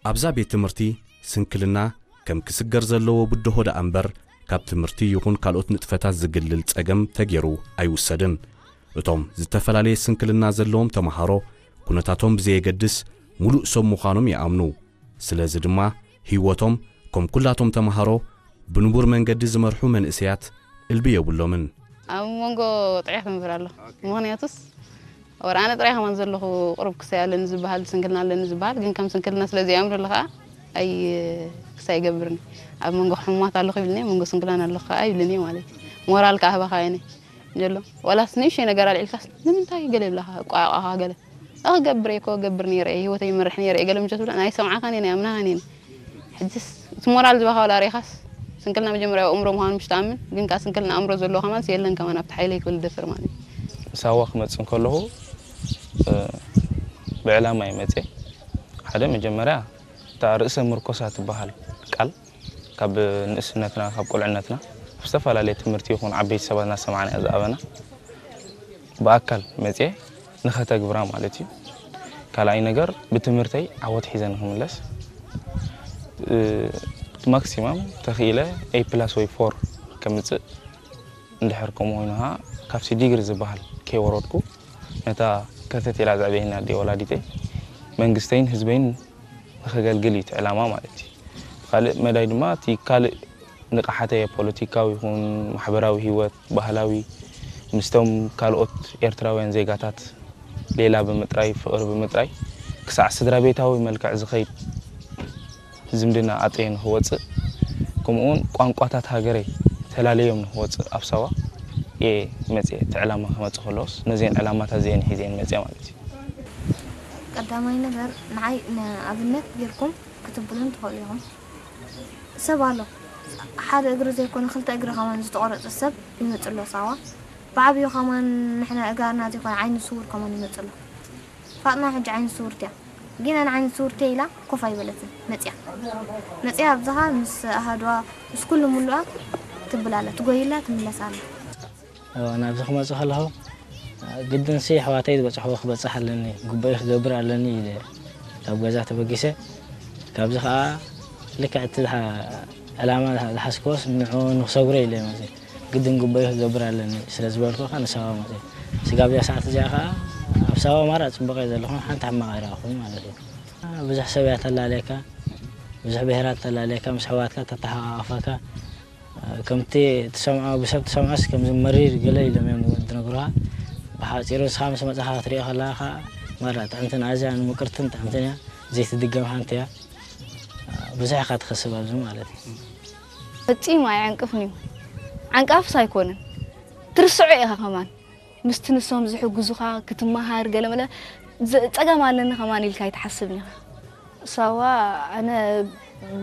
ኣብዛ ቤት ትምህርቲ ስንክልና ከም ክስገር ዘለዎ ብድሆ ደኣ እምበር፣ ካብ ትምህርቲ ይኹን ካልኦት ንጥፈታት ዝግልል ጸገም ተገይሩ ኣይውሰድን። እቶም ዝተፈላለየ ስንክልና ዘለዎም ተመሃሮ፣ ኩነታቶም ብዘየገድስ፣ ሙሉእ ሰብ ምዃኖም ይኣምኑ። ስለዚ ድማ፣ ህይወቶም፣ ከም ኩላቶም ተመሃሮ፣ ብንቡር መንገዲ ዝመርሑ መንእሰያት እልቢ የብሎምን። ኣብ መንጎ ጥዕያ ክምብር ኣሎ። ምኽንያቱስ፣ ወረ ኣነ ጥራይ ከማን ዘለኹ፣ ቁሩብ ክሳይ ኣለኒ ዝበሃል፣ ስንክልና ኣለኒ ዝበሃል፣ ግን ከም ስንክልና ስለ ዘይኣምረሉ ከኣ ኣይ ክሳይ ይገብርኒ። ኣብ መንጎ ሕሙማት ኣለኹ ይብልኒ፣ ኣብ መንጎ ስንክላን ኣለኹ ከኣ ይብልኒ ማለት እዩ። ሞራል ከኣ ህባኻ እየ ዘሎ። ዋላስ ንእሽተይ ነገር ኣልዒልካስ፣ "ንምንታይ?" ገለ ይብላኻ፣ ቋቋኻ ገለ። "ኣኽገብር እየ እኮ፣ እገብር ነይረ እየ፣ ህይወተይ ይመርሕ ነይረ እየ" ገለ ምሸት ብላ፣ ናይ ሰምዓኻን እየ፣ ናይ ኣምናኻን እየ። ሕጅስ እቲ ሞራል ዝባኻ ዋላ ርኢኻስ፣ ስንክልና መጀመርያ ኣእምሮ ምዃኑ ምሽ ትኣምን፣ ግን ከኣ ስንክልና ኣእምሮ ዘለዎ ከማንስ የለን ከማን ኣብቲ ሓይለይ ክብል ዝደፍር ማለት እዩ። ሳዋ ክመጽእ እንከለኹ፣ እ፣ ብዕላማ እየ መጽየ። ሓደ መጀመርያ እታ ርእሰ ምርኮሳ ትበሃል ቃል ካብ ንእስነትና፣ ካብ ቁልዕነትና፣ ኣብ ዝተፈላለየ ትምህርቲ ይኹን ዓበይቲ ሰባት እናሰማዕና እያ ዝኣበና። ብኣካል መጽየ ንኸተግብራ ማለት እዩ። ካልኣይ ነገር ብትምህርተይ ዓወት ሒዘ ንኽምለስ፣ እ፣ ማክሲማም ተኽኢለ ኤ ፕላስ ወይ ፎር ከምጽእ፣ እንድሕር ከምኡ ኮይኑ ኸዓ ካብቲ ዲግሪ ዝበሃል ከይወረድኩ፣ ነታ ከርተት ኢላ ዘዕበየኒ ኣደ ወላዲተይ መንግስተይን ህዝበይን ንኸገልግል እዩ እቲ ዕላማ ማለት እዩ። ካልእ መዳይ ድማ እቲ ካልእ ንቕሓተይ ኣብ ፖለቲካዊ ይኹን ማሕበራዊ ህይወት፣ ባህላዊ፣ ምስቶም ካልኦት ኤርትራውያን ዜጋታት ሌላ ብምጥራይ፣ ፍቕሪ ብምጥራይ፣ ክሳዕ ስድራ ቤታዊ መልክዕ ዝኸይድ ዝምድና ኣጥርየ ንኽወጽእ፣ ከምኡውን ቋንቋታት ሃገረይ ተላለዮም ንኽወጽእ ኣብ ሳዋ እየ መጽየ። እቲ ዕላማ ክመጽእ ከለዎስ ነዚአን ዕላማታት እዚአን ሒዘ እየ መጽየ ማለት እዩ። ቀዳማይ ነገር ንዓይ ንኣብነት ጌርኩም ክትብሉን ትኽእሉ ኢኹም። ሰብ ኣሎ፣ ሓደ እግሪ ዘይኮነ ክልተ እግሪ ከማን ዝተቖረጸ ሰብ ይመጽእ ኣሎ ሳዋ። ብዓብዩ ከማን ንሕና እጋርና ዘይኮነ ዓይኒ ስውር ከማን ይመጽእ ኣሎ። ፋጥና ሕጂ ዓይኒ ስውርቲ እያ። ግን ኣነ ዓይኒ ስውርቲ እየ ኢላ ኮፍ ኣይበለትን። መጽያ። መጽያ ኣብዝኻ ምስ ኣሃዱዋ፣ ምስ ኩሉ ምሉኣ ትብል ኣላ። ትጎይላ ትምለስ ኣላ። እዎ፣ ናብዚ ክመጽእ ከለኹ፣ ግድንሲ ኣሕዋተይ ዝበጽሕዎ ክበጽሕ ኣለኒ፣ ግቡእይ ክገብር ኣለኒ ኢለ ካብ ገዛ ተበጊሰ። ካብዚ ከኣ ልክዕ እቲ ዝሓ-፣ ዕላማ ዝሓ-፣ ዝሓዝክዎስ ንዕኡ ንክሰግሮ ኢለ እየ መጽየ። ግድን ግቡእይ ክገብር ኣለኒ ስለ ዝበልኩ ከኣ ንሳዋ መጽየ። ስጋብ እዚኣ ሰዓት እዚኣ ከኣ ኣብ ሳዋ ማራ ጽቡቕ እየ ዘለኹ፣ ሓንቲ ሕማቕ ኣይረኣኹን ማለት እዩ። ብዙሕ ሰብ እያ ተላለየካ፣ ብዙሕ ብሄራት ተላለየካ፣ ምስ ኣሕዋትካ ተተሓቃቐፈካ። ከምቲ ትሰምዖ፣ ብሰብ ትሰምዖስ ከምዚ መሪር ገለ ኢሎም እዮም ዝነግሩኻ። ብሓጺሩ ንስኻ ምስ መጻኻ ክትሪኦ ከለኻ ከኣ ማራ ጥዕምትን ኣዝያ ንምቅርትን ጥዕምትን እያ፣ ዘይትድገም ሓንቲ እያ። ብዙሕ ኢኻ ትኸስብ ኣብዚ ማለት እዩ። ፈጺሙ ኣየዕንቅፍን እዩ። ዓንቃፍስ ኣይኮነን። ትርስዖ ኢኻ ከማን። ምስቲ ንሶም ዝሕግዙኻ ክትመሃር ገለመለ ዝ-፣ ጸገም ኣለኒ ከማን ኢልካ ኣይትሓስብን ኢኻ። ሳዋ ኣነ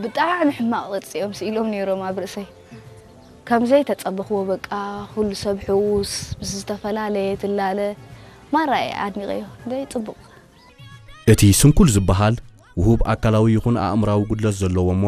ብጣዕሚ ሕማቕ ቅርጺ እዮም ስኢሎም ነይሮም ኣብ ርእሰይ። ከም ዘይተጸበኽዎ በቃ ኩሉ ሰብ ሕዉስ፣ ምስ ዝተፈላለየ ትላለ። ማራ እየ ኣድኒቐዮ። ደይ ጽቡቕ። እቲ ስንኩል ዝበሃል ውሁብ ኣካላዊ ይኹን ኣእምራዊ ጉድለት ዘለዎ እሞ